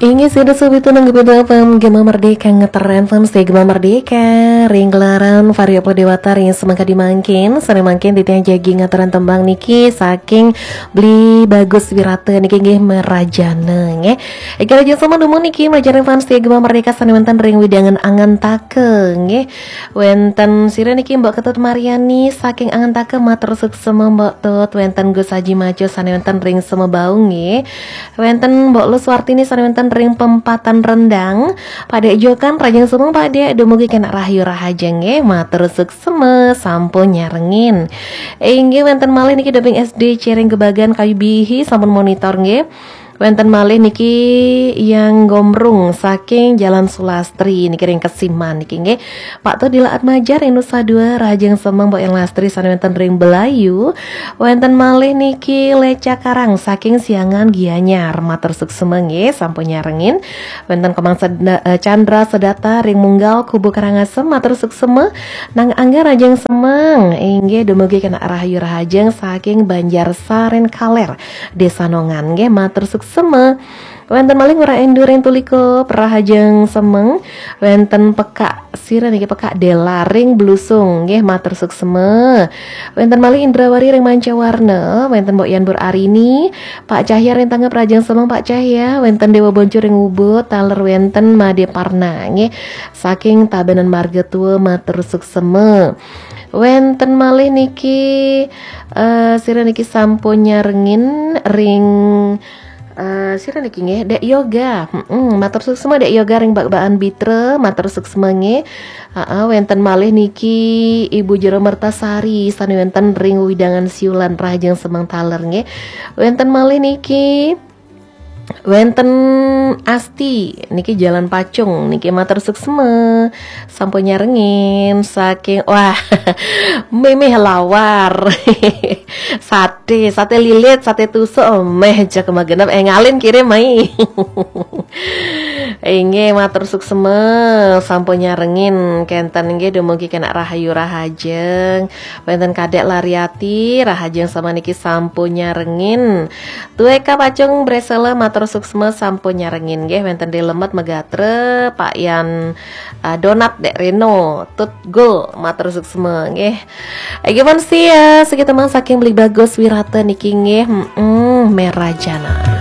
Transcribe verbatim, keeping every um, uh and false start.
Inggih sida sobat nang Gebitu F M Gema Merdeka ngetren fans di Gema Merdeka. Ring gelaran Vario Dewata ring semangka dimangkin, sane mangkin titiang jagi ngetren tembang niki saking Beli Bagus Wirata niki nggih Merajana nggih. Iki raja sama dumun niki Merajana fans di Gema Merdeka sane wenten ring widangan angan take nggih. Wenten sira niki Mbok Ketut Mariani saking angan take matur suksema Mbok Tut, wenten Gus Haji Majo sane wenten ring Semebau nggih. Wenten Mbok Lus Wartini sane wenten ring Pempatan Rendang. Pak Dek Jokan rajang sumeng Pak Dek dumugi kena rahayu rahaja nggih. Matur suksema sampun nyarengin. Inggih wenten malih niki Deping S D Cireng Gebagan Kayu Bihi sampun monitor nggih. Wenten malih niki Yang Gombrung saking Jalan Sulastri niki ring Kesiman niki nggih. Pak Tut Dila Atmaja ring Nusa Dua rahajeng semeng Mbok Yang Lastri sane wenten ring Belayu. Wenten malih niki Leca Karang saking Siangan Gianyar. Matur suksema nggih sampun nyarengin. Wenten Komang Seda- eh, Chandra Sedata ring Munggal Kubu Karangasem matur suksema. Nang Angga rajeng semeng. Inggih dumugi kena rahayu rahajeng saking Banjar Saren Kaler Desa Nongan nggih matur suksema. Wenten malih Ngurah Endur ring Tuliko rahajeng semeng. Wenten Pekak sira niki Pekak Dela ring Blusung nggih matur suksema. Wenten malih Indrawari ring Mancawarna, wenten Mbok Yan Bur Arini, Pak Cahya ring Tangep rajeng semeng Pak Cahya, wenten Dewa Boncu ring Ubud, taler wenten Made Parna nggih. Saking Tabanan Marga Tua matur suksema. Wenten malih niki eh sira niki sampun nyarengin ring eh sira niki nggih Dek Yoga. Mm-mm, matur suksema Dek Yoga ring Bak-bakan Bitra, matur suksema nggih. Heeh, wenten malih niki Ibu Jero Mertasari sane wenten ring widangan Siulan rahajeng semeng taler nggih. Wenten malih niki wenten Asti niki Jalan Pacung niki matur suksema sampun nyarengin saking wah mimih lawar sate, sate lilit, sate tusuk meh jak magenep eh ngalin kirim mai. Inggih matur suksema sampun nyarengin kenten nggih dumugi kena rahayu rahajeng. Wenten Kadek Lariati rahajeng sama niki sampun nyarengin. Tueka Pacung Bresela matur suksma sampun nyarengin nggih wenten Dek Lemet Megatra, Pak Yan, uh, Donat Dek Reno, Tut Gul matur suksma nggih. Egi pun sia segitu mang saking Beli Bagus Wirata niki nggih. Mm-mm, Merajana.